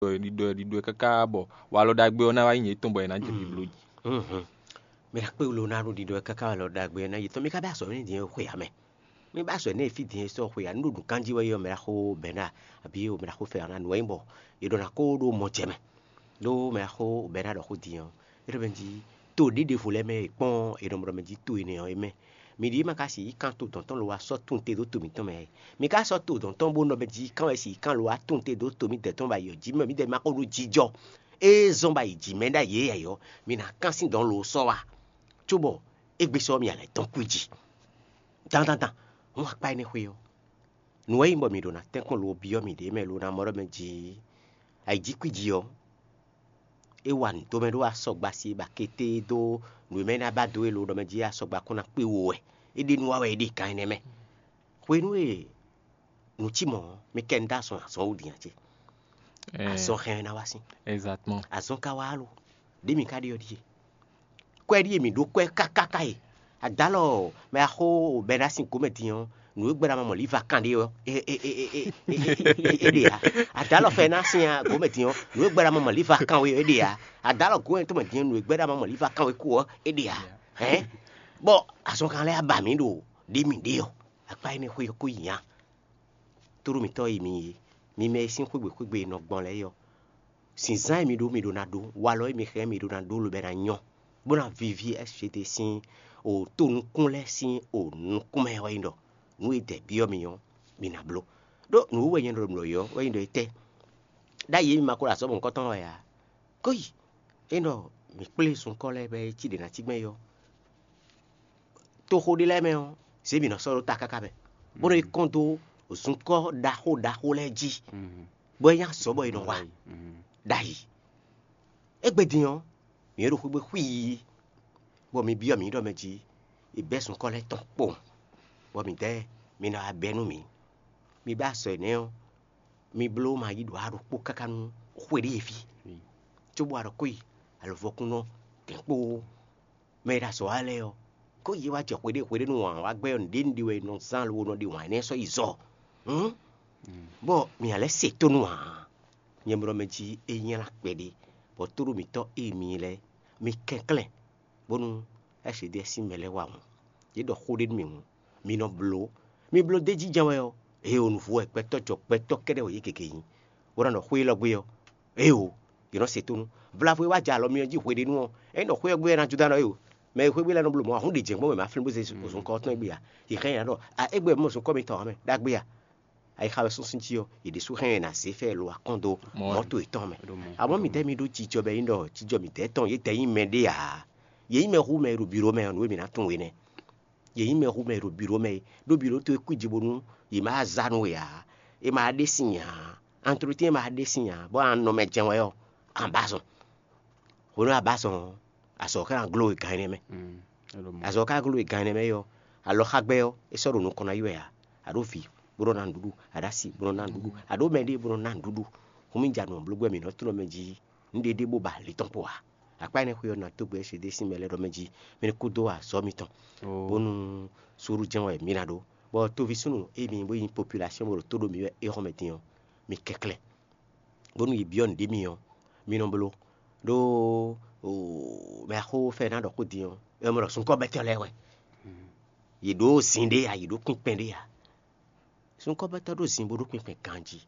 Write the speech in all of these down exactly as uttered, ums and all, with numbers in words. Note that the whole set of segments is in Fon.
ɖiɖɔ ɛ ɖiɖɔ ɛ káká bɔ walɔ ɖagbe ɔ́ ná wá nyí yětɔn bɔ è nǎ jɛ ɖibló jí. Mɛ ɖo kpé wlo ná ɖo ɖiɖɔ ɛ káká walɔ ɖagbe ɔ́ ná yi tɔn mi ka bɛ azɔ ní dín xwe ame. Mi bɛ azɔ ní fí dín sɔ xwe anu ɖo nǔkanjí wɛ yɔ mɛ ɖaxó bɛna àbí o mɛ ɖaxó fɛ ɔ́ ná nǔ wɛ nyí bɔ è ɖɔ ná kó ɖo mɔ jɛ mɛ. Ɖó mɛ ɖaxó bɛna ɖɔ xó dín ɔ́ é ɖɔ mɛ jí to ɖěɖevo lɛ́ɛ mɛ e kpɔ́n è nɔ ɖɔ mɛ jí to énɛ́ ɔ́ é mɛ. Mi ɖi ma ka si yi kan to dɔ̌n tɔn lo wá sɔ́ tunwun te ɖó to mǐtɔn mɛ. Mi ka sɔ́ to dɔ̌n tɔn bó nɔ mɛ jí kan wɛ si yi kan lo wá tunwun te ɖó to mítɛ́ tɔn ba yi ɔ́ jí mɛ mítɛ́ ma ko ɖó jijɔ. Ée zɔ́n ba yi jǐ mɛ ɖ'ayǐ é yɛ ɔ́, mi ná kán sín dɔ̌n lo sɔ́ wá. Cóbɔ égbé sɔ́ mi alɛ tɔn kú jí. Dandandan, hɔn akpá énɛ́ xwé ɔ́, nǔ wɛ nyí bɔ mi ɖo ná tɛ́nkpɔ́n lo byɔ́ miɖée mɛ lo ná mɔ ɖɔ mɛ jí ayǐjíkwíji ɔ́, é wa nǔ dó mɛ ɖó asɔgba sí ba kété dó nǔ e mɛ ná ba dó e lo ɖɔ mɛ jí asɔgba kún ná kpé wo wɛ. É ɖe nú wa wɛ é ɖe kan énɛ́ mɛ. Hwenu e nǔ cí mɔ̌ ɔ́, mi kɛ nu dó azɔn azɔn wú din ǎ cé? Azɔn hɛn ɛ ná wá sín. Exactement. Azɔn ka wá lo, ɖě mi ka ɖe ɔ́ ɖíe. Kwɛ ɖíe mǐ ɖó kwɛ kákáká e. Adǎlɔ mɛ axó bɛ́ ná sin gǒmɛ din ɔ́, nǔ e gbɛ́ ná mɔ mɔ̌ líva kan ɖé ɔ́, é ɖe ǎ. Adǎlɔ fɛ ná sin gǒmɛ din ɔ́, nǔ e gbɛ́ ná mɔ mɔ̌ líva kan wé ɔ́, é ɖe ǎ. Adǎlɔ gǒmɛ tɔn mɛ din ɔ́, nǔ e gbɛ́ ná mɔ mɔ̌ líva kan wé kú ɔ́, é ɖe ǎ. Hɛ̌n, bɔ azɔn kan lɛ́ɛ ba mǐ ɖo ɖě mǐ ɖe ɔ́, akpá énɛ́ xwé ɔ́ kó nyi nya. Tóɖó mǐtɔn e mi nyí, mi mɛ e sín xwégbè xwégbè e nɔ gbɔn lɛ́ɛ é ɔ́, zǐnzán e mi ɖó mi ɖó ná ɖó, walɔ e mi hɛn mi ɖó ná ɖó lobɛ ná nyɔ́, bó ná víví S G D sín o to nukún lɛ́ɛ sín o nukún mɛ ɔ́ nyí ɖɔ nǔ e dɛ byɔ́ mi ɔ́, mi ná bló. Ɖó nǔ wɛ nyɛ ɖɔ nǔ ɔ́ wɛ nyí ɖɔ étɛ́? Ɖ'ayǐ e mi ma ko ɖo azɔ̌ mɔ̌hunkɔtɔn wɛ ǎ. Kó yi, é ɖɔ mǐ kplé zunkɔ́ lɛ́ɛ bɔ é cí ɖě ná cí gbɛn é ɔ́, toxo ɖé lɛ́ɛ mɛ ɔ́, zě mǐ nɔ sɔ́ ɖó ta káká mɛ, bó nɔ yi kɔn dó zunkɔ́ ɖaxó ɖaxó lɛ́ɛ jí, bɔ é nyí azɔ̌ bɔ è nɔ wa ɖ'ayǐ. Égbé din ɔ́, mǐ e ɖo xwé gbe xwíi, bɔ mi byɔ́ mǐ ɖɔ mɛ jí è bɛ́ zunkɔ́ lɛ́ɛ tɔn kpowun, bɔ mǐdɛɛ mi ná wá bɛ́ nú mǐ. Mi bɛ́ azɔ̌ énɛ́ ɔ́, mi bló ma yí ɖǒ aɖokpó káká nú xwe ɖé e fí, cóbɔ a ɖɔ kó yi alɔvɔkúnnɔ dɛ̌nkpó mɛ e ɖo azɔ̌ wa lɛ́ɛ ɔ́, kó yě wá jɛ xweɖé xweɖé nú wǎn wá gbɛ́ ɔ́, nǔɖé nǔɖé wɛ è nɔ zán lobo nɔ ɖe wǎn énɛ́ sɔ́ yi zɔ. Hǔn, bɔ mǐ ná lɛ́ se tónú ǎ. Nyɛ mlɔ mɛ jí é nylá kpɛɖé, bɔ tóɖó mǐtɔn e mi nyí lɛ́ɛ, mi kɛnklɛ́n, bónú S D S sín mɛ lɛ́ɛ wa hǔn. Yě ɖɔ xó ɖé nú mì hǔn, mi nɔ bló. Mi bló d'é jínjɔ́n wɛ ɔ́, ée o nǔvú wɛ gbɛtɔ́ jɔ gbɛtɔ́ kɛ́ɖɛ́ wɛ yě gěgé nyí, bó ná nɔ xwé élɔ́ gbé ɔ́, éeǒ, yě nɔ se tónú. Vlavo e wá jɛ alɔ myɔ jí hweɖénu ɔ́, é nɔ xwé ɔ́ gbé wɛ ná Juda nɔ éeǒ. Mɛ e xwé gbé lɛ́ɛ nɔ bló mɔ̌ ǎ, hún ɖě jɛ̌n gbɔn wɛ mǎ flín bó zé zunkan ɔ́ tɔn gbé ǎ. Yě hɛn yě ná ɖɔ a égbé mɔ zɔn kɔ́ mitɔn ǎ mɛ ɖagbe a. Ayixa wɛ súnsún jí ɔ́, yě ɖésú hɛn yě ná zé fɛ lo akɔ́n dó mɔ̌ towe tɔn mɛ. Amɔ̌ midɛɛ mi ɖó jijɔ bɔ é nyí ɖɔ jijɔ midɛɛ tɔn yě dɛ nyí mɛ ɖé ǎ. Yě nyí mɛ hu mɛ e ɖo bǐ ɖó mɛ ɔ́, nǔ e mǐ ná tunwun é nɛ́. Yě nyí mɛ hu mɛ e ɖo bǐ ɖó mɛ é, ɖó bǐ ɖó towe kwíji bónú yě ma zá nú we ǎ, è ma ɖe sin ǎ, antlotɛ́n ma ɖe sin ǎ, bɔ a nɔ mɛ jɛ́n wɛ ɔ́, a ba zɔn. Hwenu e a ba zɔn ɔ́, azɔ̌ ká ná gló we gan énɛ́ mɛ. Azɔ̌ ká gló we gan énɛ́ mɛ é ɔ́, alɔxagbɛ́ ɔ́, é sɔ́ ɖo nukɔn ná yi wɛ ǎ. A ɖó vǐ, bó nɔ́ ná nǔɖuɖu, a ɖó asi, bó nɔ́ ná nǔɖuɖu, a ɖó mɛ ɖé, bó nɔ́ ná nǔɖuɖu. Hǔn mi ja nǔ ɔ́ bló gbɛ mǐ nɔ́ tlɔ́ mɛ jí nǔɖéɖé bó ba ali tɔn kpo ǎ. Akpá énɛ́ xwe ɔ́ ná dó gbe éṣedé sín mɛ lɛ́ɛ ɖɔ mɛ jí mɛ ní kúdó azɔ̌ mitɔn, bónú suúlu jɛ́n wɛ mǐ ná ɖó. Bɔ toví súnnu émi bó nyí population bó ɖo tó ɖo mǐ wɛ é xɔ́ mɛ din ɔ́, mi kɛnklɛ́n, bónú yě byɔ́ nǔɖé mi ɔ́, mi nɔ bló. Ɖó mɛ axó fɛ ná ɖɔ xó din ɔ́, é mɔ ɖɔ sunkɔ́bɛ́tɔ́ lɛ́ɛ wɛ. Yě ɖó zin ɖé ǎ, yě ɖó kpinkpɛn ɖé ǎ. Sunkɔ́bɛ́tɔ́ ɖó zin bó ɖó kpinkpɛn ganjí.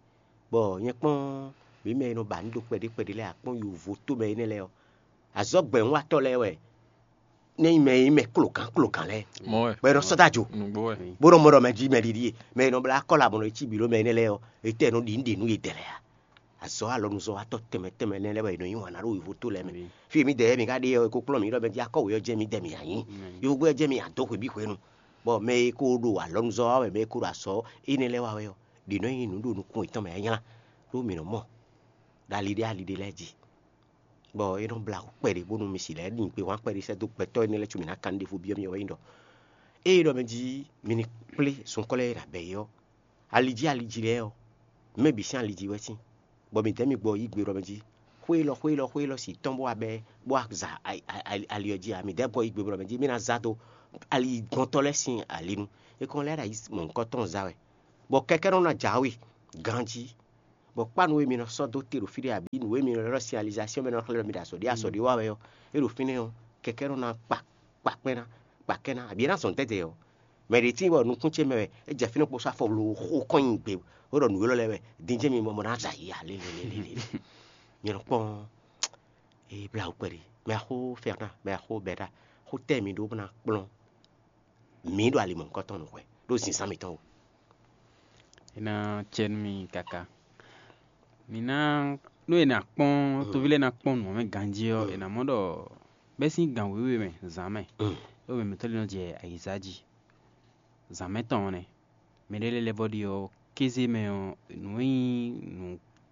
Bɔ nyɛ kpɔ́n mǐ mɛ e nɔ ba nǔ ɖo kpɛɖé kpɛɖé lɛ́ɛ akpɔ́n yovo tómɛ énɛ́ lɛ́ɛ ɔ́, azɔ̌gbɛ́núwatɔ́ lɛ́ɛ wɛ. Nɛ́ nyí mɛ e nyí mɛ klogǎn klogǎn lɛ́ɛ, bɔ è nɔ sɔ́ dó ajo, bó nɔ mɔ ɖɔ mɛ jí mɛ ɖiɖi e mɛ e nɔ blá kɔ́ labɔn nɔ cí bǐ ɖó mɛ énɛ́ lɛ́ɛ ɔ́, etɛ́ nɔ ɖi nǔ ɖe nú yě dɛ lɛ́ɛ a? Azɔ̌ alɔnuzɔ́watɔ́ tɛnmɛ tɛnmɛ lɛ́ɛ lɛ́ɛ wɛ è nɔ nyí wǎn ná ɖo wěvotó lɛ́ɛ mɛ. Fí e mǐdɛɛ mǐ ka ɖe ɔ́, è ko kplɔ́n mǐ ɖɔ mɛ jí akɔ́wě ɔ́ jɛ́n mǐdɛɛ mǐ ǎ nyí. Yovogbé ɔ́ jɛ́n mǐ ǎ dó hwebǐ hwenu. Bɔ mɛ e ko ɖo alɔnuzɔ́ wa wɛ, mɛ e ko ɖo azɔ̌ énɛ́ lɛ́ɛ wa wɛ ɔ́, ɖě nɔ nyi nǔ ɖo nukɔn yětɔn mɛ nyanya, ɖó mǐ nɔ mɔ ɖo ali ɖé ali ɖé lɛ́ɛ jí. Bɔ é nɔ blá wǔ kpɛɖé bónú mi si lɛ́ɛ ɖi gbe wǎn kpɛɖé sɛ́ dó gbɛtɔ́ énɛ́ lɛ́ɛ cóbɔ mǐ ná kan ɖěvo byɔ́ mì wɛ nyí ɖɔ: ée ɖɔ mɛ jí mi ní kplé zunkɔ́ lɛ́ɛ e nǎ bɛ̌ é ɔ́, ali jí ali jí lɛ́ɛ ɔ́, mɛ bǐ sín ali jí wɛ sín, bɔ mǐdɛɛ mi gbɔ yí gbe ɖɔ mɛ jí: xwé élɔ́, xwé élɔ́, xwé élɔ́ si tɔ́n bó wá bɛ́ bó wá za ali ɔ́ jí ǎ. Mǐdɛɛ gbɔ yí gbe ɖɔ mɛ jí mì ná za dó ali gɔntɔ́ lɛ́ɛ sín ali nu. É kɔn lɛ́ ɖo ayǐ mɔ̌hunkɔtɔn za wɛ, bɔ kɛkɛ́nɔ ná jǎwe ganjí. Bɔ kpá nǔ e mi nɔ sɔ́ dó te ɖo fí ɖé abǐ nǔ e mi nɔ ylɔ́ ɖɔ signalisation mɛ nɔ xlɛ́ ɖɔ mi ɖo azɔ̌ ɖé azɔ̌ ɖé wa wɛ ɔ́, é ɖo fínɛ́ ɔ́, kɛkɛ́ nɔ ná kpa kpa kpɛ́n ná kpa kɛ́ ná, abǐ é ná zɔn dɛ́dɛ ɔ́, mɛ ɖě tíin bɔ nukún ce mɛ wɛ é jɛ fínɛ́ kpo sɔ́ afɔ blo xo kɔn nyi gbe, bó ɖɔ nǔ élɔ́ lɛ́ɛ wɛ dín jɛ́n mi mɔ mɔ ná zɛ ayǐ ǎ lélelélele. Mi nɔ kpɔ́n é blá wú kpɛɖé, mɛ axó Fɛrnaa, mɛ axó Bɛda, xó tɛ́ mi ɖó bó ná kplɔ́n mǐ ɖo ali mɔ̌hunkɔtɔn nú hwɛ ɖó zǐnzán mǐtɔn wú. É ná cɛ nú mi káká. Mi ná, nú è nǎ kpɔ́n, toví lɛ́ɛ ná kpɔ́n nǔ ɔ́ mɛ ganjí ɔ́, è nǎ mɔ ɖɔ bɛ́ sín gan wěwe mɛ zǎn mɛ, ɖó mɛ mǐtɔn lɛ́ɛ nɔ jɛ ayǐzá jí. Zǎn mɛ tɔn ɔ́ nɛ́. Mɛ ɖé lɛ́ɛ lɛ́ vɔ́ ɖi ɔ́, kéze mɛ ɔ́, nǔ e nyí nǔ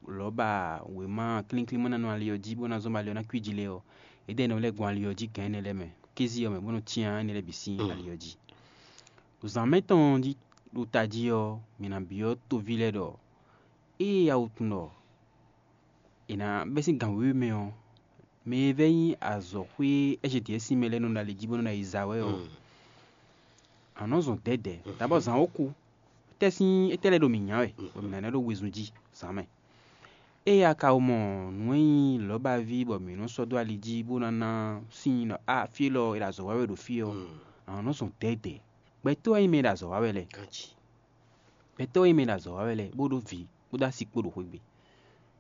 lɔ̌ba wěma klínklinmánánɔ ali ɔ́ jí, bó ná zɔ́n bɔ ali ɔ́ ná kwíji lé ɔ́, é ɖɔ énɛ́ lɛ́ɛ gbɔn ali ɔ́ jí gǎn énɛ́ lɛ́ɛ mɛ, kéze ɔ́ mɛ, bó nɔ́ cyán énɛ́ lɛ́ɛ bǐ sín ali ɔ́ jí. Zǎn mɛ tɔn ɔ́ jí ɖo tají ɔ́, mǐ ná byɔ́ toví lɛ́ɛ ɖɔ ée awutun ɖɔ è nǎ bɛ́ sín gan wěwe mɛ ɔ́, mɛ e vɛ́ nyí azɔ̌xwé Ɛ́zhedɛ́ɛn sín mɛ lɛ́ɛ nɔ ɖo ali jí bó nɔ́ ná yi za wɛ ɔ́, a nɔ́ zɔn dɛ̌dɛ̌. Dabɔ zǎn ó kú, tɛ́ sín étɛ́ lɛ́ɛ ɖo mǐ nya wɛ, bɔ mǐ ná nɛ́ ɖó wezun jí zǎn mɛ. Ée a ka mɔ nǔ e nyí lɔ̌baví bɔ mǐ nɔ́ sɔ́ dó ali jí bó ná ná sín ɖɔ a fí élɔ́ è ɖo azɔ̌ wa wɛ ɖo fí ɔ́, a nɔ́ zɔn dɛ̌dɛ̌. Gbɛtɔ́ e nyí mɛ e ɖo azɔ̌ wa wɛ lɛ́ɛ, gbɛtɔ́ e nyí mɛ e ɖo azɔ̌ wa wɛ lɛ́ɛ, bó ɖó vǐ, bó ɖó asi kpó ɖo xwé gbe.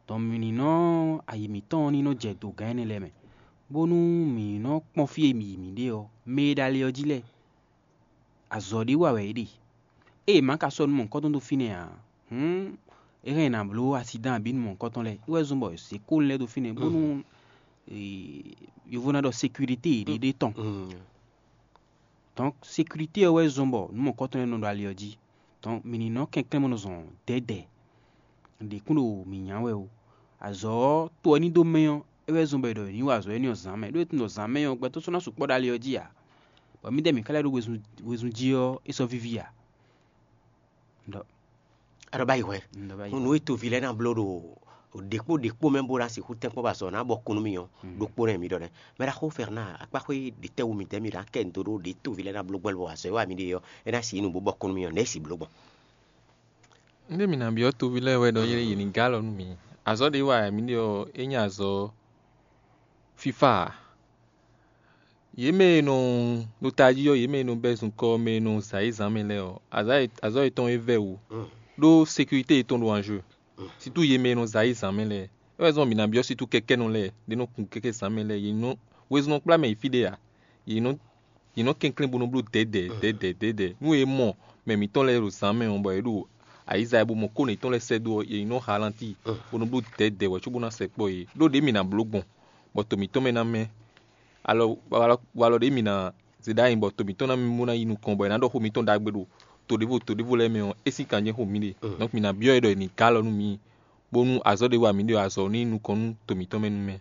Dɔn mǐ ní nɔ ayi mǐtɔn ɔ́ ní nɔ jɛ dǒgán énɛ́ lɛ́ɛ mɛ, bónú mǐ ní nɔ kpɔ́n fí e mǐ yi mǐ ɖe ɔ́, mɛ e ɖo ali ɔ́ jí lɛ́ɛ, azɔ̌ ɖé wa wɛ é ɖe. Ée è ma ka sɔ́ nú mɔ̌hunkɔtɔn dó fínɛ́ ǎ, hǔn é hɛn è nǎ bló asidán abǐ nú mɔ̌hunkɔtɔn lɛ́ɛ. É wɛ zɔ́n bɔ è zě kónú lɛ́ɛ dó fínɛ́, bónú yovo ná ɖɔ sécurité ɖé ɖé tɔn. Donc sécurité ɔ́ wɛ zɔ́n bɔ nǔ mɔ̌hunkɔtɔn lɛ́ɛ nɔ ɖo ali ɔ́ jí. Donc mǐ ní nɔ kɛnklɛ́n bó nɔ zɔn dɛ̌dɛ̌. Ɖě kún ɖo mǐ nya wɛ o. Azɔ̌ ɔ́, to ɔ́ ní dó mɛ ɔ́, é wɛ zɔ́n bɔ è ɖɔ è ní wa azɔ̌ énɛ́ ɔ́ zǎn mɛ. Ɖó è tunwun ɖɔ zǎn mɛ ɔ́, gbɛtɔ́ sɔ́ ná sukpɔ́ ɖo ali ɔ́ jí ǎ. Bɔ mǐdɛɛ mǐ ka lɛ́ ɖo wezun, wezun jí ɔ́, é sɔ́ víví ǎ. Ɖɔ A ɖɔ báyìí hwɛ. Nú nǔ e toví lɛ́ɛ ná bló ɖo ɖěkpó ɖěkpó mɛ bó ná sixú tɛ́nkpɔ́n ba azɔ̌ ná bɔ kún nú mì ɔ́, ɖokpó nɛ́ mi ɖɔ nɛ́. Mɛ ɖaxó Fɛrnaa, akpáxwé ɖě tɛ́ wú mi tɛ́ mi ɖo akɛ ndo ɖó ɖě toví lɛ́ɛ ná bló gbɔn lɔ azɔ̌ e wa mi ɖe ɔ́, é ná si yi nǔ bó bɔ kún nú mì ɔ́, nɛ̌ si bló gbɔn? Ndé mi ná byɔ́ toví lɛ́ɛ wɛ ɖɔ yé yě ní gá alɔ nú mi. Azɔ̌ ɖě wa mi ɖe ɔ́, é nyí azɔ̌ fífá ǎ. Yě mɛ e nɔ ɖo tají ɔ́, yě mɛ e nɔ bɛ́ zunkɔ́ ɔ́ mɛ e nɔ zǎ yi zǎn mɛ lɛ́ɛ ɔ́, azɔ̌ yětɔn e vɛ́ wǔ ɖó sécurité yětɔn ɖo anjeu. Situ yě mɛ e nɔ zǎ yi zǎn mɛ lɛ́ɛ, é wɛ zɔ́n mǐ ná byɔ́ situ kɛkɛ́nɔ lɛ́ɛ ɖě nɔ kun kɛkɛ́ zǎn mɛ lɛ́ɛ, yě nɔ wezun nɔ kplá mɛ yi fí ɖé ǎ. Yě nɔ yě nɔ kɛnklɛ́n bó nɔ bló dɛ̌dɛ̌ dɛ̌dɛ̌ dɛ̌dɛ̌. Nú yě mɔ mɛ mǐtɔn lɛ́ɛ ɖo zǎn mɛ ɔ́, bɔ yě ɖo ayǐza e bó mɔ kó yětɔn lɛ́ɛ sɛ́ dó ɔ́, yě nɔ ha lantíi bó nɔ bló dɛ̌dɛ̌ wɛ cóbó ná sɛkpɔ́ yě. Ɖó ɖě mǐ ná bló gbɔn, bɔ to mǐtɔn mɛ ná mɛ. Alɔ walɔ ɖě mǐ ná zě ɖó ayi, bɔ to mǐtɔn ná mɛ bó ná yi nukɔn, bɔ è nǎ ɖɔ xó mǐtɔn ɖagbe ɖo to ɖěvo to ɖěvo lɛ́ɛ mɛ ɔ́, é sín kan jɛ́n xó mǐ ɖe. Donc mǐ ná byɔ́ ɛ ɖɔ è nǐ gá alɔ nú mǐ, bónú azɔ̌ ɖé wa mǐ ɖe ɔ́, azɔ̌ ní yi nukɔn nú to mǐtɔn mɛ nú mɛ.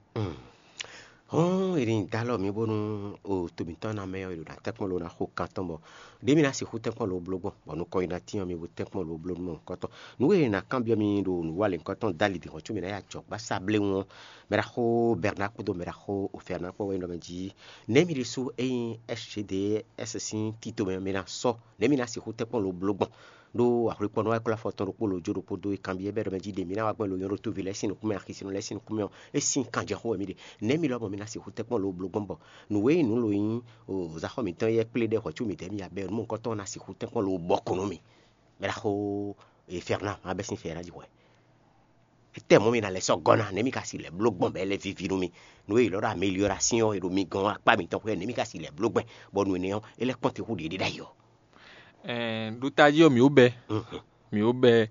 Hɔn, è nǐ dó alɔ mǐ bónú o to mǐtɔn ná mɛ ɔ́, è ɖo ná tɛ́nkpɔ́n lo ná xo kan tɔn bɔ ɖě mǐ ná sixú tɛ́nkpɔ́n lo bló gbɔn, bɔ nukɔn yi ná tín ɔ́, mi bo tɛ́nkpɔ́n lo bló nú mɔ̌hunkɔtɔn. Nǔ e è nǎ kanbyɔ́ mì ɖo nǔwanlɛ̌nkɔtɔn dali dǐn hɔn có mǐ ná yi ajɔ̌gbásá bléwún ɔ́, mɛ ɖaxó Bɛrna kpódó mɛ ɖaxó Ofɛrna kpó wɛ nyí ɖɔ mɛ jí nɛ̌ mi ɖésú ényí S G D S sín tito mɛ mi ná sɔ́, nɛ̌ mi ná sixú tɛ́nkpɔ́n lo bló gbɔn? Ɖó ahwlikpɔ́nɔ wá klɔ́ afɔ tɔn ɖokpó lo jó ɖokpó dó e kanbyɔ́ bɛ́ ɖɔ mɛ jí ɖě mi ná wá gbɛn lo nyɔ́ ɖó toví lɛ́ɛ sín nukúnmɛ, axisínɔ lɛ́ɛ sín nukúnmɛ ɔ́, é sín kanjɛxó wɛ mì ɖe. Nɛ̌ mi lɔmɔ̌ mi ná sixú tɛ́nkpɔ́n lo bló gbɔn bɔ nǔ e nyí nǔ lo nyí o záxɔ mǐtɔn e kplé ɖɛ hwɛ̌ có mǐdɛɛ mi abɛ nǔ mɔ̌hunkɔtɔn ná sixú tɛ́nkpɔ́n lo bɔ kɔn nú mì? Mɛ ɖaxó Fɛrna, má bɛ́ sín Fɛrna jí hwɛ. Étɛ́ mɔ̌ mi ná lɛ́ sɔ́ gɔ́ ná, nɛ̌ mi ka si lɛ̌ bló gbɔn bɔ é lɛ́ víví nú mì? Nǔ e è ylɔ́ ɖɔ amélioration e ɖo mi gɔ́n akpá mǐtɔn xwé, nɛ̌ mi ka si lɛ̌ bló gbɛn bɔ nǔ énɛ́ ɔ́, é lɛ́ kpɔ́n te hú ɖě ɖé ɖ'ayǐ ɔ́? Ɛɛ, ɖo tají ɔ́, mǐ ó bɛ́, mǐ ó bɛ́,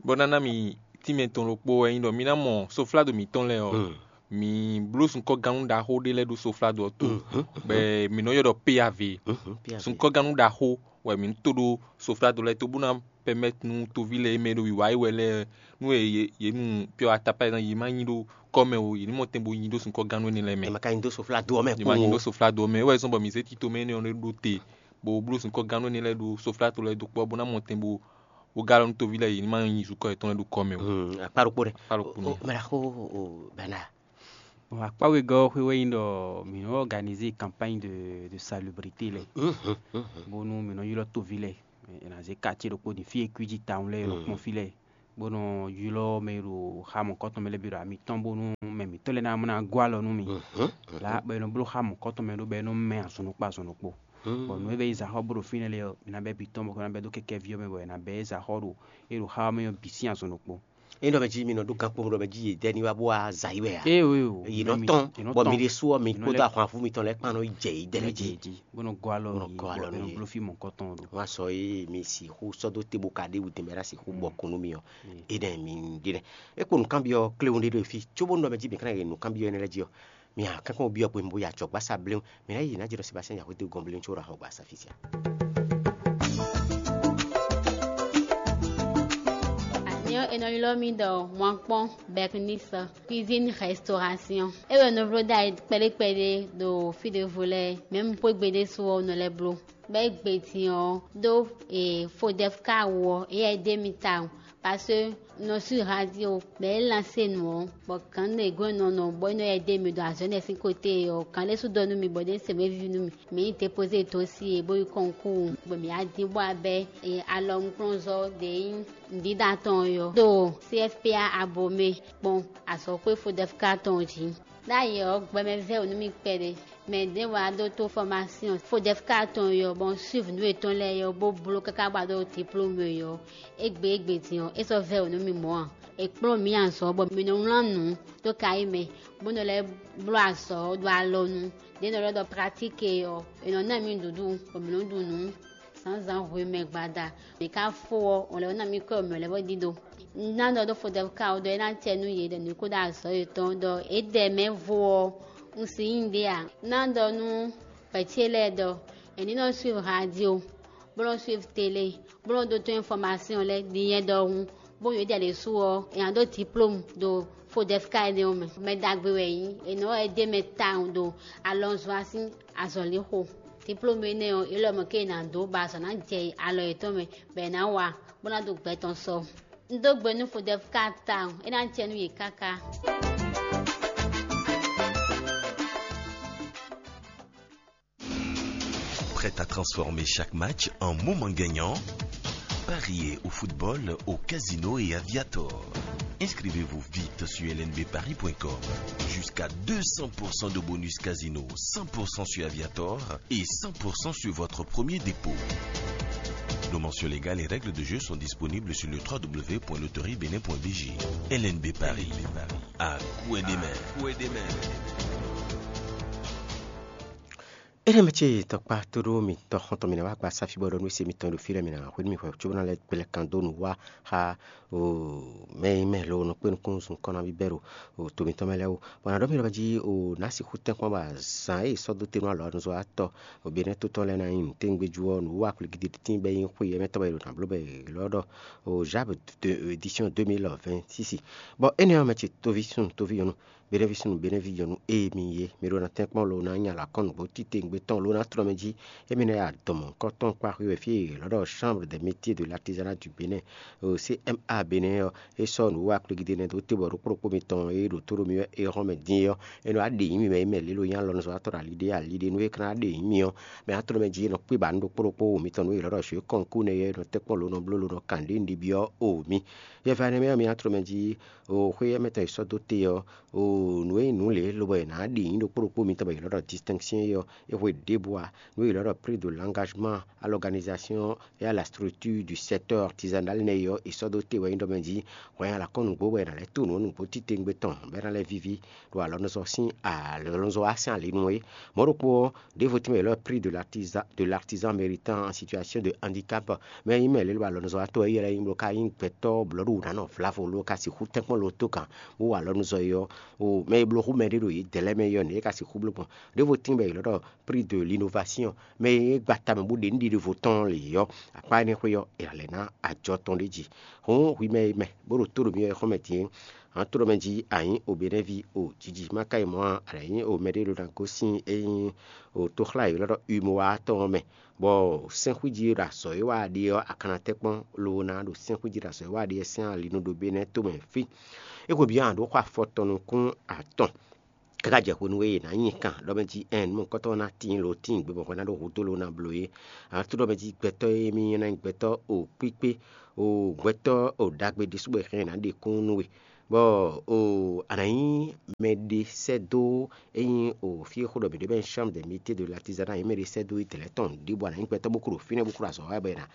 bɔ ná ná mi tínmɛ tɔn ɖokpó wɛ nyí ɖɔ mi ná mɔ soflado mǐtɔn lɛ́ɛ ɔ́, mǐ bló sunkɔ́gannú ɖaxó ɖé lɛ́ɛ ɖó soflado ɔ́ to, bɔ mǐ nɔ ylɔ́ ɖɔ P A V. Sunkɔ́gannú ɖaxó wɛ mǐ nɔ to ɖó soflado lɛ́ɛ to bó ná pɛmɛ́t nú toví lɛ́ɛ e mɛ e ɖo wǐwá yi wɛ lɛ́ɛ, nú yě nu pyɔ atapá yě má nyi ɖó kɔ́ mɛ o, yě ní mɔ tɛn bo nyi ɖó sunkɔ́gannú énɛ́ lɛ́ɛ mɛ. È ma ka nyi dó soflado ɔ́ mɛ Yě má nyi kpowun ɖó o. Soflado ɔ́ mɛ. É wɛ zɔ́n bɔ mǐ zé tito mɛ énɛ́ ɔ́ ɖó te, bó bló sunkɔ́gannú énɛ́ lɛ́ɛ ɖó soflado lɛ́ɛ dó kpɔ́ bó ná mɔ tɛn bo bó gá lɔ nú toví lɛ́ɛ, yě ní má nyi zukɔ́ yětɔn lɛ́ɛ ɖó kɔ́ mɛ o. Hmm, akpá ɖokpó ɖɛ. Akpá ɖokpó nɛ. O, mɛ ɖaxó o bana. Bon, akpá wegɔ́ xwé wɛ nyí ɖɔ mǐ nɔ organiser campagne de, de salubrité lɛ. Bónú mǐ nɔ ylɔ́ toví lɛ, è nǎ zé quartier ɖokpó din fí e kwíji tawun lɛ́ɛ è nɔ kpɔ́n fí lɛ́ɛ. bó nɔ ylɔ́ mɛ e ɖo xá mɔ̌kɔtɔn mɛ lɛ́ɛ bǐ ɖo ami tɔn bónú mɛ mǐtɔn lɛ́ɛ ná mɔ ná gɔ́ alɔ nú mì. Lá bɔ è nɔ bló xá mɔ̌kɔtɔn mɛ ɖó bɔ é nɔ mɛ azɔn ɖokpó azɔn ɖokpó. Bɔ nǔ e bɛ yi zǎxɔ bó ɖo fínɛ́ lɛ́ɛ ɔ́, mǐ ná bɛ́ bǐ tɔn bɔ é ná bɛ́ dó kɛkɛ́ví ɔ́ mɛ bɔ è nǎ bɛ́ zǎxɔ ɖo é ɖo xá ɔ́ mɛ ɔ́ bǐ sín azɔn ɖokpó. É ɖɔ mɛ jí mi nɔ ɖó gán kpó ɖɔ mɛ jí yě dɛ ní wá bó wá zǎ yi wɛ a? Yě nɔ tɔn, bɔ mi ɖésú ɔ́, mi kpódó ahwanvú mitɔn lɛ́ɛ kpán nɔ yi jɛ yě dɛ lɛ́ɛ jí. Bó nɔ gɔ́ alɔ Bó nɔ yě, gɔ́ bɔ alɔ é nɔ nú yě. Bló fí mɔ̌kɔtɔn ɖo. Wá sɔ é mi sixú sɔ́ dó te bó ka ɖe wǔ tɛnmɛ ɖo sixú bɔ kún nú mi ɔ́. Énɛ́ mi ɖe nɛ́. É kpo nǔkanbyɔ́ kléwún ɖé ɖo fí, cóbónú ɖɔ mɛ jí mi ka ná yɛ nǔkanbyɔ́ énɛ́ lɛ́ɛ jí ɔ́, mi ǎ kánkán byɔ́ hwenu bó yi acɔ̌gbasá bléwún, mi ná yi ná jɛ ɖɔ Sebastien Yaxwete gɔ́n bléwún có ɖo axɔgbasá fí sia. Anyɔ è nɔ ylɔ́ mì ɖɔ Mwankpɔn Bernice Cuisine Restauration. É wɛ nɔ vló ɖ'ayǐ kpɛɖé kpɛɖé ɖo fí ɖěvo lɛ́ɛ, mɛ̌ un xwé gbe ɖésú ɔ́, un nɔ lɛ́ bló. Bɔ é gbe din ɔ́, ɖó e Fodɛfka wú ɔ́, éyɛ́ é ɖe mi tawun, parce que un nɔ sú radio, bɔ é lansé nǔ ɔ́, bɔ gǎn ɖě gɔ́n nɔ nɔ bɔ é nɔ yɛ ɖe mi ɖo azɔ̌ énɛ́ sín côté ɔ́, gǎn ɖé sú ɖɔ nú mi bɔ é ɖe se wéví nú mi, mǐ yi dépozé dó sí e bó yi kɔnkúu, bɔ mǐ wá dín bó wá bɛ́ alɔnukplɔ́nzɔ́ ɖě nyí nǔɖíɖá tɔn ɔ́ yɔ́ ɖo C F P A Abomey kpɔ́n azɔ̌xwé Fodɛfka tɔn jí. Ɖ'ayǐ ɔ́, gbɛmɛ vɛ́ wǔ nú mì kpɛɖé. Mɛ ɖě wá ɖó tó fɔmásyɔn Fodɛfka tɔn ɔ́, bɔ un suiv nǔ yětɔn lɛ́ɛ ɔ́, bó bló káká bó wá ɖó diplómu ɔ́. Égbé égbé din ɔ́, é sɔ́ vɛ́ wǔ nú mì mɔ̌ ǎ. È kplɔ́n mǐ azɔ̌ bɔ mǐ nɔ wlán nǔ dó kayí mɛ, bó nɔ lɛ́ bló azɔ̌ ɖo alɔnu. Ɖě nɔ ɖɔ ɖɔ pratík ɔ́, è nɔ ná mǐ nǔɖuɖu bɔ mǐ nɔ ɖu nǔ zǎnzǎn hwemɛ gbada. Mǐ ka fó ɔ́, wǒn lɛ́ɛ ná mì kɔ́ mǐ lɛ́ɛ bó ɖidó. Un ná ɖɔ ɖó Fodɛfka ɔ́ ɖɔ é ná acɛ nú yě ɖɔ nǔ kó ɖo azɔ̌ yětɔn ɖɔ é ɖɛ mɛ vo ɔ́, un si nyí ɖě ǎ. Un ná ɖɔ nú vɛ̌ ce lɛ́ɛ ɖɔ è ní nɔ suiv radio, bó nɔ suiv tele, bó nɔ ɖótó infɔmasyɔn lɛ́ɛ din nyɛ ɖɔhun, bó nyɔ́ ɖiɖe ɖésú ɔ́, è nǎ ɖó diplómu ɖo Fodɛfka énɛ́ ɔ́ mɛ. Mɛ ɖagbe wɛ é nyí, è nɔ wɛ é ɖe mɛ tawun ɖo alɔnzɔ́ sín azɔ̌lixo. Diplómu énɛ́ ɔ́, é lɔ mɔ̌ ké è nǎ dó bɔ azɔ̌ ná jɛ alɔ yětɔn mɛ, bɔ è nǎ wa, bó ná ɖo gbɛ tɔn sɔ. Un dó gbe nú Fodɛfka tawun, é ná jɛ nú yě káká. Prête à transformer chaque match en moment gagnant? Pariez au football, au casino et à Viator. Inscrivez-vous vite sur L N B paris point com. Jusqu'à deux cents pour cent de bonus casino, cent pour cent sur Aviator et cent pour cent sur votre premier dépôt. Nos mentions légales et règles de jeu sont disponibles sur le trois W point loterie bénin point B G. L N B Paris, à coup et des mains. Énɛ́ mɛ ce tɔkpá tóɖó mitɔn xɔntɔn mǐ ná wá gba sáfí bɔ ɖɔ nú se mitɔn ɖo fí lɛ́ɛ mǐ ná hwenu mì hwɛ cóbó ná lɛ́ gbɛlɛ kan dó nǔ wá xá o mɛ e mɛ lo nɔ kpé nukúnnú zun kɔ́ ná bíbɛ́ ɖo o to mǐtɔn mɛ lɛ́ɛ wú. Bɔ nǎ ɖɔ mì ɖɔ jí o nǎ sixú tɛ́nkpɔ́n bɔ azǎn e è sɔ́ dó te nú alɔ̌nuzɔ́watɔ́ o Benɛ́ tó tɔn lɛ́ɛ ná nyí nǔtɛ́ngbejú ɔ́ nǔ wá kplígídí tín bɔ é nyí xwe yɛ́mɛtɔ́ bɔ è ɖo nǎ bló bɔ è lɔ́ ɖɔ o Žáb édition deux mille vingt-six. Bɔ énɛ́ ɔ́ mɛ ce tóví súnnu tóví nyɔ̌nu Benɛ́ví súnnu Benɛ́ví nyɔ̌nu e mi ye, mi ɖó ná tɛ́nkpɔ́n lo ná nya alakɔ́nugbo titewungbe tɔn lo ná tlɔ́ mɛ jí, émí ná ya dɔn mɔ̌hunkɔtɔn kpá xwé wɛ fí e è lɔ́ ɖɔ Chambre des métiers de l'artisanat du Bénin, o C M A Bénin ɔ́, é sɔ́ nǔwiwa kplígídé nɛ́ dó tébɔ ɖokpó ɖokpó mitɔn e ɖo tó ɖo mi wɛ é hɔn mɛ din é ɔ́, é nɔ wá ɖe nyǐmi mɛ e mɛ lě lo nyí alɔnuzɔ́watɔ́ ɖo ali ɖé ali ɖé nú é ka ná ɖe nyǐmi ɔ́, mɛ ná tlɔ́ mɛ jí é nɔ kpé ba nú ɖokpó ɖokpó wo mitɔn nú è lɔ́ ɖɔ jǒ kɔnkú nɛ́ é nɔ tɛ́nkpɔ́n lo nɔ bló lo nɔ kan ɖě un ɖi byɔ́ o mi. Yɛfɛ énɛ́ mɛ ɔ́, mi ná tlɔ́ mɛ jí o xwé émɛtɔn e sɔ́ dó te ɔ́, o nǔ e nyí nǔ lě lobo è nǎ ɖe nyǐ ɖokpó ɖokpó mitɔn bɔ è nǎ ɖɔ distinction é ɔ́, é hwe ɖěbǔ ǎ. Nǔ e è nǎ ɖɔ prix de l'engagement à l'organisation et à la structure du secteur artisanal nɛ́ é ɔ́, è sɔ́ dó te wɛ nyí ɖɔ mɛ jí hwɛ nyi alakɔ́nugbo bɔ è nǎ lɛ́ to nǔ ɔ́ nǔgbó titewungbe tɔn bɔ é ná lɛ́ víví ɖo alɔnuzɔ́ sín alɔnuzɔ́ wá sín ali nú é. Mɔ̌ ɖokpó ɔ́, ɖěvo tínmɛ è nɔ ɖɔ prix de l'artisan de l'artisan méritant en situation de handicap. Mɛ e nyí mɛ lě lɔ alɔnuzɔ́watɔ́ e ylɔ́ nyí bó ka nyí gbɛtɔ́ blɔ̌ɖu wǔ ná nɔ vlavo ló ka sixú tɛ́nkpɔ́n lo tó gǎn bó wa alɔnuzɔ́ é ɔ́, o mɛ e bló hú mɛɖé ɖo yě dɛ̌ lɛ́ɛ mɛ é ɔ́, nɛ̌ é ka sixú bló gbɔn? Ɖěvo tíin bɔ è ylɔ́ ɖɔ prix de l'innovation, mɛ e gba tamɛ bó ɖe nǔɖiɖe vo tɔn lě ɔ́, akpá énɛ́ xwé ɔ́, è nǎ lɛ́ ná ajɔ tɔn ɖ'é jí. Hǔn hwi mɛ e mɛ bó ɖo tó ɖo mì wɛ xɔ́mɛ din é, hǎn tó ɖɔ mɛ jí a nyǐ o Benɛ́ví o jiji má ka yi mɔ̌ ǎ, a lɛ̌ nyí o mɛɖé ɖo ná gosín e nyí o toxlá e ylɔ́ ɖɔ Umowa tɔn ɔ́ mɛ, bɔ sɛ́nxwíjí e ɖo azɔ̌ e wa ɖe ɔ́, a ka ná tɛ́ kpɔ́n lobo ná ɖo sɛ́nxwíjí e ɖo azɔ̌ e wa ɖe ɔ́ sín ali nu ɖo Benɛ́ tomɛ fí. É hwebyɔ́ a ɖǒ xɔ afɔ tɔn nukún atɔn. Káká jɛ hwenu e è nǎ nyi kan ɖɔ mɛ jí ɛn nú mɔ̌hunkɔtɔn ɔ́ ná tíin lo tíin gbe bɔ hwɛ ná ɖo hudó lo ná bló é. Ǎ tó ɖɔ mɛ jí gbɛtɔ́ e mì nyí ná nyí gbɛtɔ́ o kpíkpé, o gbɛtɔ́ o ɖagbe ɖésú bɔ è hɛn ná ɖe kún nú we. Bɔ o a nǎ nyí mɛɖe sɛ́ dó, ényí o fí e xó ɖɔ mǐ ɖe bɔ é nyí chambre des métiers de l'artisanat, a nǎ nyí mɛɖe sɛ́ dó itɛ̌lɛ́ tɔn ɖěbǔ, a nǎ nyí gbɛtɔ́ bó klo ɖo fínɛ́ bó klo azɔ̌ wa bɔ è nǎ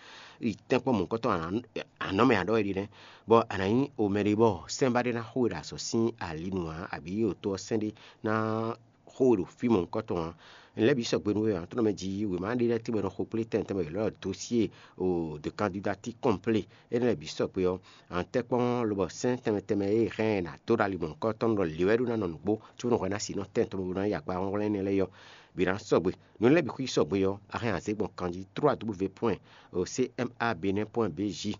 yi tɛ́nkpɔ́n mɔ̌hunkɔtɔn anɔ̌ mɛ ǎ ɖɔ wɛ ɖi nɛ́. Bɔ a nǎ nyí o mɛɖe bɔ sɛ́n ba ɖé ná xo we ɖo azɔ̌ sín ali nu ǎ, abǐ o tó ɔ́ sɛ́n ɖé ná xo we ɖo fí mɔ̌hunkɔtɔn ǎ. Nǔ lɛ́ɛ bǐ sɔgbe nú we ǎ, tó nɔ mɛ jí wěma ɖé lɛ́ɛ tɛ́nmɛ nɔ xo kplé tɛn tɛnmɛ yě lɔ dosíe o de kandidatí kɔ́nplé énɛ́ lɛ́ɛ bǐ sɔgbe ɔ́, a nǎ tɛ́ kpɔ́n lobɔ sɛ́n tɛnmɛ tɛnmɛ e hɛn ɛ nǎ dó ɖo ali mɔ̌hunkɔtɔn ɖɔ lě wɛ ɖó ná nɔ nǔgbó, cóbɔ nɔ hwɛ ná si nɔ tɛ́n tɔn bó ná yi akpa hɔnhlɔ́n énɛ́ lɛ́ɛ ɔ́, bǐ ná sɔgbe. Nǔ lɛ́ɛ bǐ xwí sɔgbe ɔ́, a hɛn azěgbɔn kanjí trois w point o c m a benin point b j.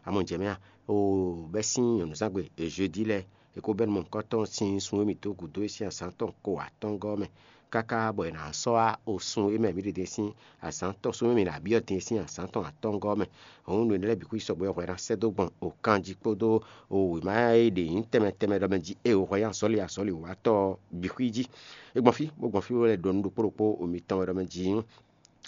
Amɔ jɛ mɛ a o bɛ́ sín nyɔ̌nuzángbe jeudi lɛ́ɛ, è ko bɛ́ nɔ mɔ̌hunkɔtɔn sín sun e mǐ dó gǔdo é sín azǎn tɔn ko atɔ́ngɔ́ mɛ, káká bɔ è nǎ sɔ́ wá o sun e mɛ mǐ ɖe din sín azǎn tɔn, sun e mǐ ɖo abǐ ɔ́ din sín azǎn tɔn atɔ́ngɔ́ mɛ. Hǔn nǔ énɛ́ lɛ́ɛ bǐ xwí sɔgbe ɔ́ hwɛ ná sɛ́ dó gbɔn o kanjí kpódó o wěma e ɖe nyǐ tɛnmɛ tɛnmɛ ɖɔ mɛ jí e o hwɛ nyí azɔ̌li azɔ̌li watɔ́ ɔ́ bǐ xwí jí. É gbɔn fí, bó gbɔn fí bó lɛ́ ɖɔ nǔ ɖokpó ɖokpó o mitɔn wɛ ɖɔ mɛ jí.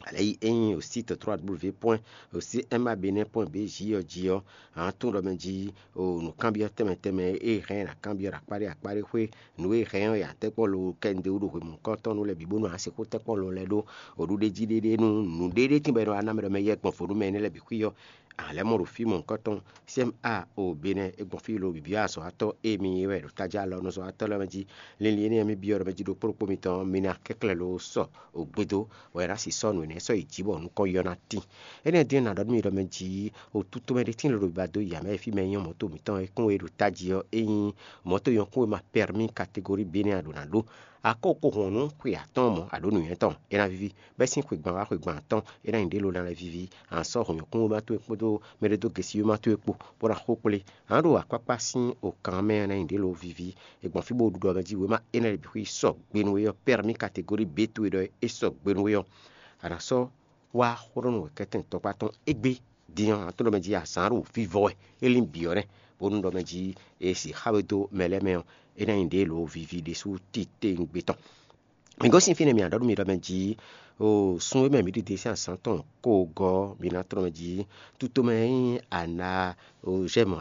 Alɛ yi é nyí o site trois w point o c m a benin point b j ɔ́ jí ɔ́, a nǎ tunwun ɖɔ mɛ jí o nǔkanbyɔ́ tɛnmɛ tɛnmɛ e hɛn ɛ ná kanbyɔ́ ɖo akpá ɖé akpá ɖé xwé, nǔ e hɛn ɔ́ ya tɛ́nkpɔ́n lo kɛnde wú ɖo hwemɔ̌hunkɔtɔn nú lɛ́ɛ bǐ bónú a nǎ sixú tɛ́nkpɔ́n lo lɛ́ɛ ɖó o ɖuɖéjí ɖéɖé nú nǔɖé ɖé tínbɔ è nɔ wá ná mɛ ɖɔ mɛ yɛkpɔn vo nú mɛ énɛ́ lɛ́ɛ bǐ xwí ɔ́, a lɛ́ mɔ ɖo fí mɔ̌hunkɔtɔn C M A o Benɛ́ é gbɔn fí lo bǐbí azɔ̌watɔ́ e mi nyí wɛ ɖo tají alɔnuzɔ́watɔ́ lɛ́ɛ mɛ jí. Linlin énɛ́ e mì byɔ́ ɖɔ mɛ jí ɖo kpóɖokpó mitɔn ɔ́, mi ná kɛnklɛ́n lo sɔ o gbedo, bɔ è nǎ si sɔ́ nǔ énɛ́ sɔ́ yi jǐ bɔ nukɔn yi ɔ́ ná tín. Énɛ́ din ɔ́, nǎ ɖɔ nú mi ɖɔ mɛ jí o tutomɛ ɖé tíin lo ɖo biba dó ya mɛ e fí mɛ nyɔ́ mɔ̌to mǐtɔn e kún e ɖo tají ɔ́, ényí mɔ̌to nyɔ́ kún e ma pɛ́rmí kategóri Benɛ́ a ɖǒ ná ɖó. Akɔ́ ko hɔn nú xwe atɔ́ɔ́n mɔ̌, a ɖǒ nǔnywɛ́ tɔn, é ná víví, bɛ́ sín xwegban wá xwegban atɔ́ɔ́n, é ná nyí ɖě lo ná lɛ́ víví. A nǎ sɔ́ hɔn nyɔ̌kúnwéma towe kpódó mɛɖédógesíwéma towe kpó, bó ná xó kplé. A nǎ ɖo akpákpá sín okan mɛ ɔ́ ná nyí ɖě lo víví. È gbɔn fí bó ɖu ɖɔ mɛ jí wěma énɛ́ lɛ́ɛ bǐ xwí sɔgbe nú we ɔ́, pɛ́rmí kategóri B towe ɖɔ é sɔgbe nú we ɔ́, a nǎ sɔ́ wá xó ɖɔ nú wɛ̌kɛ́tɛn tɔkpá tɔn égbé. Din ɔ́, a nǎ tunwun ɖɔ mɛ jí azǎn ɖo vivɔ wɛ, é lín bǐ ɔ́ nɛ́, bónú ɖɔ mɛ jí è sixá we dó mɛ lɛ́ɛ mɛ ɔ́, é ná nyí ɖě lo víví ɖésú titewungbe tɔn. Mi gosín fínɛ́, mi ǎ ɖɔ nú mi ɖɔ mɛ jí o sun e mɛ mǐ ɖi din sín azǎn tɔn ko gɔ́, mi ná tlɔ́n mɛ jí tutomɛ e nyí ana o jɛmɔ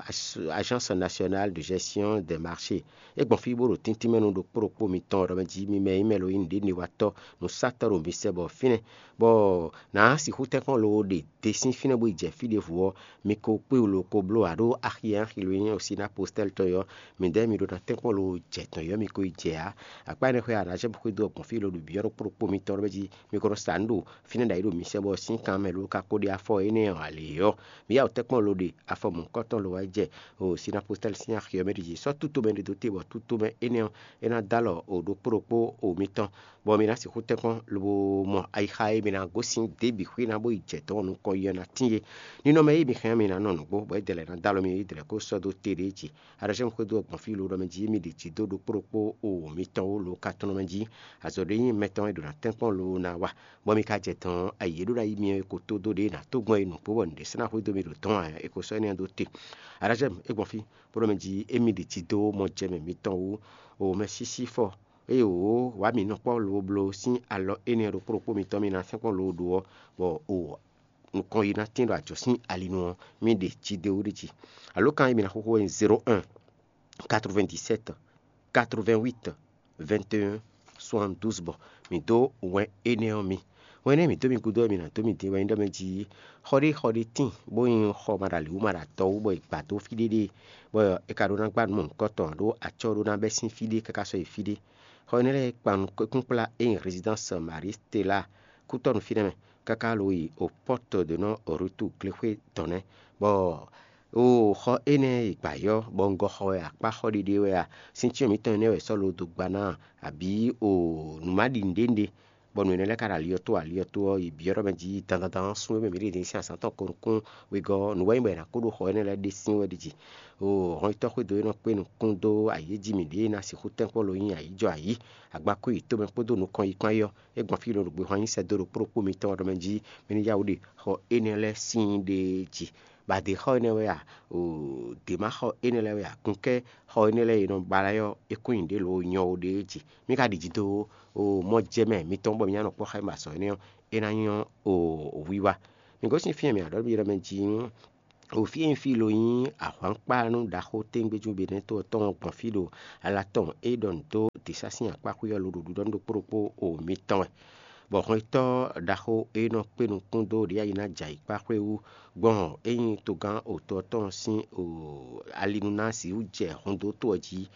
Agence Nationale de Gestion des Marchés. É gbɔn fí bó ɖo tíntín mɛ nú ɖokpó ɖokpó mitɔn ɖɔ mɛ jí mi mɛ e nyí mɛ lo nyí nǔɖénúwatɔ́, nǔsatɔ́ ɖo mi sɛ bɔ fínɛ́, bɔ nǎ sixú tɛ́nkpɔ́n lo ɖe te sín fínɛ́ bó yi jɛ fí ɖěvo ɔ́, mi ko kpé wú lo ko bló ǎ ɖó axi e axi lo nyí Osina Postɛ́l tɔn ɔ́, midɛɛ mi ɖó ná tɛ́nkpɔ́n lo jɛ tɔn ɔ́, mi ko yi jɛ ǎ. Akpá énɛ́ xwé Arazɛ́mu xwedó ɔ́ gbɔn fí lo ɖo byɔ́ ɖokpó ɖokpó mitɔn ɖɔ mɛ jí mi ko nɔ sa nǔ ɖo fínɛ́ ɖo ayǐ ɖo mi sɛ́ bɔ sín kan mɛ lo ka ko ɖe afɔ énɛ́ ɔ́ ǎ lě ɔ́, mi yá wǔ tɛ́nkpɔ́n lo ɖe afɔ mɔ̌hunkɔtɔn lo wá jɛ o Sinapostɛ́li sín axi ɔ́ mɛ ɖi jí. Sɔ́ tútomɛ ɖé dó te bɔ tútomɛ énɛ́ ɔ́, é ná dó alɔ o ɖokpó ɖokpó o mitɔn, bɔ mi ná sixú tɛ́nkpɔ́n lobo mɔ ayixa e mi ná gosín dě bǐ xwé ná bó yi jɛ dɔ̌n nukɔn yi ɔ́ ná tíin é. Ninɔmɛ e mi hɛn ɔ́, mi ná nɔ nǔgbó, bɔ é dɛlɛ ná dó alɔ mi, é dɛlɛ kó sɔ́ dó te ɖě jí. Aɖɔ̌ cɛ́ xwedó ɔ́ gbɔn fí lo ɖɔ mɛ jí émí ɖi jǐ dó ɖokpó ɖokpó o mǐtɔn wú lo ka tɔn mɛ jí. Azɔ̌ ɖé nyí mɛtɔn e ɖo ná tɛ́nkpɔ́n lo ná wa, bɔ mi ka jɛ dɔn ayǐ e ɖó ná yí mi ɔ́, e ko tó dó ɖě ná tó gbɔn e nǔgbó bɔ nǔɖé sɔ́ ná xwedó mi ɖo dɔ̌n ǎ, è ko sɔ́ énɛ́ ɔ́ dó te. Aɖɔ̌ cɛ́ é gbɔn fí bó ɖɔ mɛ jí émí ɖi jǐ dó mɔjɛmɛ mitɔn wú o mɛsísí fɔ, eye wǒ wǎ mǐ nɔ kpɔ́ lo bló sín alɔ énɛ́ ɖokpó ɖokpó mitɔn mi ná sɛ́nkpɔ́n lo ɖó ɔ́, bɔ o nukɔn yi ná tín ɖo ajɔ̌ sín ali nu ɔ́, mì ɖe jí dó ɖi jí. Alǒkan e mi ná xóxó wɛ nyí zéro un, quatre-vingt-dix-sept, quatre-vingt-huit, vingt et un, soixante-douze bɔ mǐ dó wɛn énɛ́ ɔ́ mi. Wɛn énɛ́ mǐ dó mi gúdo ɔ́, mi ná dó mi din wɛ nyí ɖɔ mɛ jí xɔ ɖé xɔ ɖé tíin, bó nyí xɔ maɖalǐwú maɖatɔ́wú bɔ è gbǎ dó fí ɖé ɖée, bɔ è ka ɖó ná gbá nǔ mɔ̌hunkɔtɔn ǎ ɖó acɔ́ ɖó ná bɛ́ sín fí ɖé káká sɔ́ yi fí ɖé. Xɔ énɛ́ lɛ́ɛ kpan nukúnkplá e nyí Résidence Marie Stella kútɔ́ nú fínɛ́ mɛ, káká lo yi o Porte de Non Retour glexwé dɔn nɛ́, bɔ o xɔ énɛ́ e gbǎ yɔ́, bɔ un gɔ xɔ wɛ akpá xɔ ɖiɖe wɛ a, sín cyɔ́n mǐtɔn énɛ́ wɛ sɔ́ lo dó gba ná a, abǐ o nǔ ma ɖi nǔɖé nɖé, bɔ nǔ énɛ́ lɛ́ɛ ka ɖo ali ɔ́ tó, ali ɔ́ tó ɔ́, yi byɔ́ ɖɔ mɛ jí dandandan sún e mɛ mǐ ɖe din sín azǎn tɔn ko nukún wegɔ́ ɔ́, nǔ wɛ nyí bɔ è nǎ ko ɖo xɔ énɛ́ lɛ́ɛ ɖe sín wɛ ɖi jí. O hɔnyitɔ́ xwedó e nɔ kpé nukún dó ayǐ e jí mǐ ɖe e ná sixú tɛ́nkpɔ́n lo nyí ayǐjɔ ayǐ, agbakú yi tomɛ kpódó nukɔn yi kpán yi ɔ́, é gbɔn fí lo ɖo gbehwan nyi sɛ́ dó ɖo kpóɖokpó mitɔn ɔ́ ɖɔ mɛ jí mɛ ní yá wǔ ɖe xɔ énɛ́ lɛ́ɛ sín ɖe jí. Bǎdé xɔ énɛ́ wɛ a? O, dě ma xɔ énɛ́ lɛ́ɛ wɛ a? Kunkɛ́ xɔ énɛ́ lɛ́ɛ e nɔ ba lɛ́ɛ ɔ́, é kún nyi ɖě lo nyɔ ó ɖéé jí. Mí ka ɖi jǐ dó o mɔ jɛ mɛ mitɔn bɔ mí ná nɔ kpɔ́ xá mɛ azɔ̌ énɛ́ ɔ́, é ná nyɔ́ o wiwa. Mi gosín fí e mǐ ná ɖɔ nú mi ɖɔ mɛ jí o fí e nyí fí lo nyí ahwankpánú ɖaxó téŋgbéjú Benɛ́to ɔ́ tɔn gbɔn fí ɖo ala tɔn e ɖɔ nǔ dó dǐsá sín akpá xwé ɔ́ lo ɖo ɖiɖɔ nú ɖokpó ɖokpó o mitɔn wɛ. Bɔ hwɛntɔ́ ɖaxó e nɔ kpé nukún dó ɖě ayi ná jɛ ayǐkpá xwé wú gbɔn é nyí togán otɔ́ tɔn sín ali nú ná sixú jɛ hɔndótó ɔ́ jí.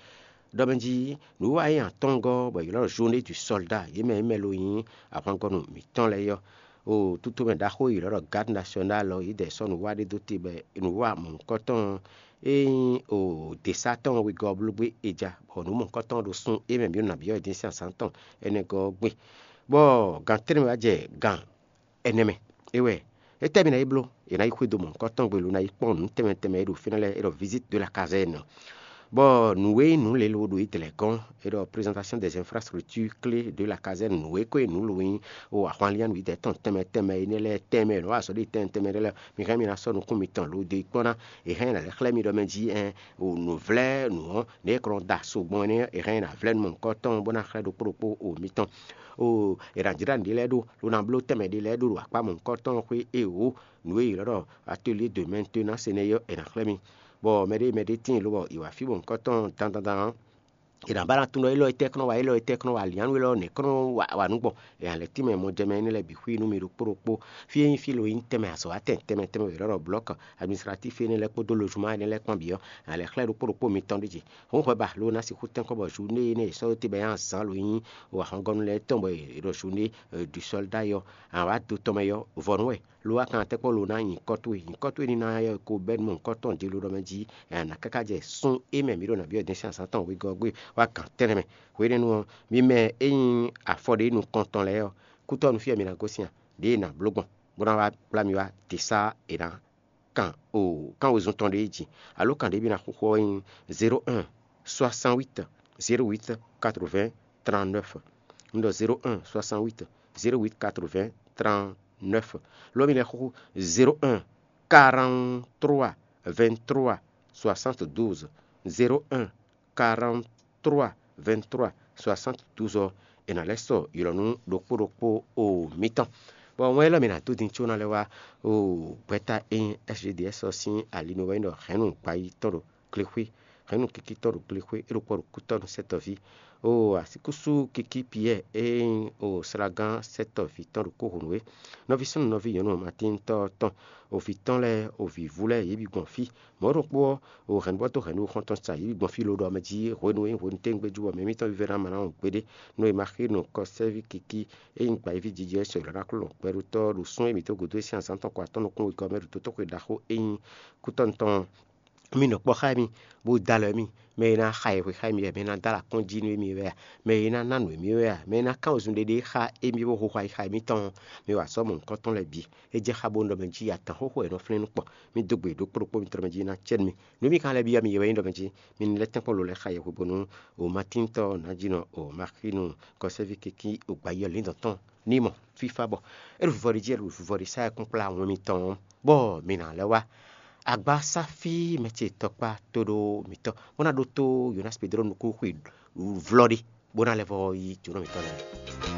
Ɖɔ mɛ jí nǔwiwa e nyi atɔ́ngɔ́ bɔ è ylɔ́ Journée du Soldat, yě mɛ e mɛ lo nyí ahwangɔ́nu mǐtɔn lɛ́ɛ é ɔ́, o tutomɛ ɖaxó e è ylɔ́ ɖɔ Garde Nationale ɔ́, yě dɛ sɔ́ nǔwiwa ɖé dó te bɔ nǔwiwa mɔ̌hunkɔtɔn e nyí o děsá tɔn wegɔ́ ɔ́ bló gbé é ja, bɔ nǔ mɔ̌hunkɔtɔn ɔ́ ɖo sun e mɛ mǐ ɖo nǎ byɔ́ ɛ din sín azǎn tɔn énɛ́ gɔ́ ɔ́ gbe. Bɔ gan tɛ́nwe wá jɛ gan ɛnɛ mɛ. É wɛ, étɛ́ mi ná yi bló? È nǎ yi xwedó mɔ̌hunkɔtɔn gbe lo ná yi kpɔ́n nǔ tɛnmɛ tɛnmɛ e ɖo fínɛ́ lɛ́ɛ, é ɖɔ visite de la caserne. Bɔ nǔ e nyí nǔ lě lo ɖo yi dlɛ̌ gɔ́n, é ɖɔ présentation des infrastructures clés de la caserne, nǔ e ko nyí nǔ lo nyí o ahwanlián nǔyidɛɛ tɔn tɛnmɛ tɛnmɛ énɛ́ lɛ́ɛ tɛnmɛ e nɔ wa azɔ̌ ɖe tɛnmɛ tɛnmɛ ɖé lɛ́ɛ, mi hɛn mi ná sɔ́ nukún mitɔn lo dó yi kpɔ́n ná. È hɛn nǎ lɛ́ xlɛ́ mi ɖɔ mɛ jí ɛn o nǔvlɛ́ nǔ ɔ́, nɛ̌ è kɔ nɔ da so gbɔn énɛ́, è hɛn nǎ vlɛ́ nú mɔ̌hunkɔtɔn bó ná xlɛ́ ɖokpó ɖokpó o mitɔn. O è nǎ jlá nǔɖé lɛ́ɛ ɖó, lo ná bló tɛnmɛ ɖé lɛ́ɛ ɖó ɖo akpá mɔ̌hunkɔtɔn xwé e wǒ nǔ e è ylɔ́ ɖɔ atelier de maintenance énɛ́ ɔ́, è nǎ xlɛ́ mi. Bɔ mɛɖé mɛɖé tíin lobɔ è wǎ fí mɔ̌hunkɔtɔn dandan ɔ́, è nǎ ba ná tunwun ɖɔ élɔ́ etɛ́ kɔn nɔ wa, élɔ́ etɛ́ kɔn nɔ wa, liǎnú élɔ́ nɛ̌ kɔn nɔ wa, wa nǔ gbɔn? È nǎ lɛ́ tínmɛ mɔjɛmɛ énɛ́ lɛ́ɛ bǐ xwí nú mi ɖokpó ɖokpó. Fí e nyí fí lo nyí tɛnmɛ azɔ̌watɛn tɛnmɛ tɛnmɛ wěwé ɖɔ blɔ̌k administratif énɛ́ lɛ́ɛ kpódó lozuma énɛ́ lɛ́ɛ kpán bǐ ɔ́, è nǎ lɛ́ xlɛ́ ɖokpó ɖokpó mitɔn ɖ'é jí. Hǔn hwɛ ba lo ná sixú tɛ́nkɔ́n bɔ Jude énɛ́ e è sɔ́ dó te bɔ é nyí azǎn lo nyí o ahɔngɔ́nu lɛ́ɛ tɔn bɔ è ɖɔ Jude du sɔ́lda é ɔ́, a nǎ wá do tɔn mɛ é ɔ́, vɔ̌nu wɛ. Lo wá kan tɛ́ kpɔ́n lo ná nyi kɔ́towe, nyi kɔ́towe ní ná yɔ ko bɛ́ nú mɔ̌hunkɔtɔn ɖělo ɖɔ mɛ jí, è nǎ káká jɛ sún é mɛ mǐ ɖo nǎ byɔ́ din sín azǎn tɔn wegɔ́ ɔ́ gbe wá gǎn tɛ́nnɛ mɛ. Hwenɛ́nu ɔ́, mi mɛ e nyí afɔ ɖě nukɔntɔn lɛ́ɛ ɔ́, kútɔ́ nú fí wɛ mi ná gosín a? Ɖěe è nǎ bló gbɔn, bó ná wá kplá mi wá te sá è nǎ kan o kán wezun tɔn ɖé jí, alo kan ɖě mi ná xixo ɔ́ nyí zéro un soixante huit zéro huit quatre-vingts trente-neuf. Un ɖɔ zéro un soixante huit zéro huit quatre-vingts trente-neuf. Lo mi lɛ́ xixo zéro un quarante-trois vingt-trois soixante-douze, zéro un quarante-trois vingt-trois soixante-douze ɔ́, è nǎ lɛ́ sɔ ylɔ̌ nú ɖokpó ɖokpó o mitɔn. Bɔ wɛn élɔ́ mi ná dó din có ná lɛ́ wá o gbɛ́ta e nyí S G D S ɔ́ sín ali mɛ wɛ nyí ɖɔ hɛ̌nnu gbayí tɔn ɖo glexwé, hɛ̌nnu kiki tɔn ɖo glexwé, é ɖo kpɔ́ ɖo kútɔ́ nú sɛ́tɔ́ví. O asíkúsú kiki Piyɛ́ɛ e nyí o slagán sɛ́tɔ́ví tɔn ɖo kóhǒnú é. Nɔví súnnu nɔví nyɔ̌nu matíntɔ́ tɔn, o vǐ tɔn lɛ́ɛ, o vǐvú lɛ́ɛ, yě bǐ gbɔn fí. Mɔ̌ ɖokpó ɔ́, o hɛ̌nnu bɔ dó hɛ̌nnu xɔ́ntɔn sa yě bǐ gbɔn fí lo ɖɔ mɛ jí hwenu e nyí hwenu téngbé jú bɔ mɛ mitɔn vívɛ́ná ma ná wɔn gbeɖé. Nú e ma xí nɔ kɔsɛ́ví kiki e nyí gba yí ví jijɛ sɔ ylɔ́ ná kló lɔn gbɛɖótɔ́ ɖo sún e mǐ dó gǔdo e sín azǎn tɔn kɔ atɔ́ nukún wegɔ́ mɛ ɖo dotóxwe ɖaxó e nyí kútɔ́ tɔn mì nɔ kpɔ́ xá mi, bó dó alɔ mì. Mɛ e ná xa yɛhwe xá mi wɛ, mɛ e ná dó alɔ akɔ́njí nú émí wɛ a? Mɛ e ná ná nǔ émí wɛ a? Mɛ e ná kán wezun ɖéɖé xá émí bó xo xwayi xá émítɔn ɔ́, mi wa azɔ̌ mɔ̌hunkɔtɔn lɛ́ɛ bǐ. É jɛ xá bónú ɖɔ mɛ jí atǎn xóxó wɛ è nɔ flɛ́n nú kpɔ́. Mi dó gbe ɖokpó ɖokpó mitɔn mɛ jí ná cɛ nú mi. Nǔ e mi ka lɛ́ byɔ́ mi é wɛ nyí ɖɔ mɛ jí mi ní lɛ́ tɛ́nkpɔ́n lo lɛ́ xa yɛhwe bónú o Matín tɔn ná jí nɔ o Maxinu kɔsɛ́ví kikí o gbayí ɔ́ líndɔ̌n tɔn ní mɔ fífá bɔ é ɖo vivɔ ɖi jí, é ɖo vivɔ ɖi sá ɛkún kplá wɛn mitɔn ɔ́, bɔ mi ná lɛ́ wá agbásáfí mɛ ce tɔkpá tóɖó mǐtɔn, bó ná ɖótó Yonasi Pedro nukún xwe vlɔ́ ɖé, bó ná lɛ́ vɔ yi jǒnɔ mǐtɔn lɛ́ɛ.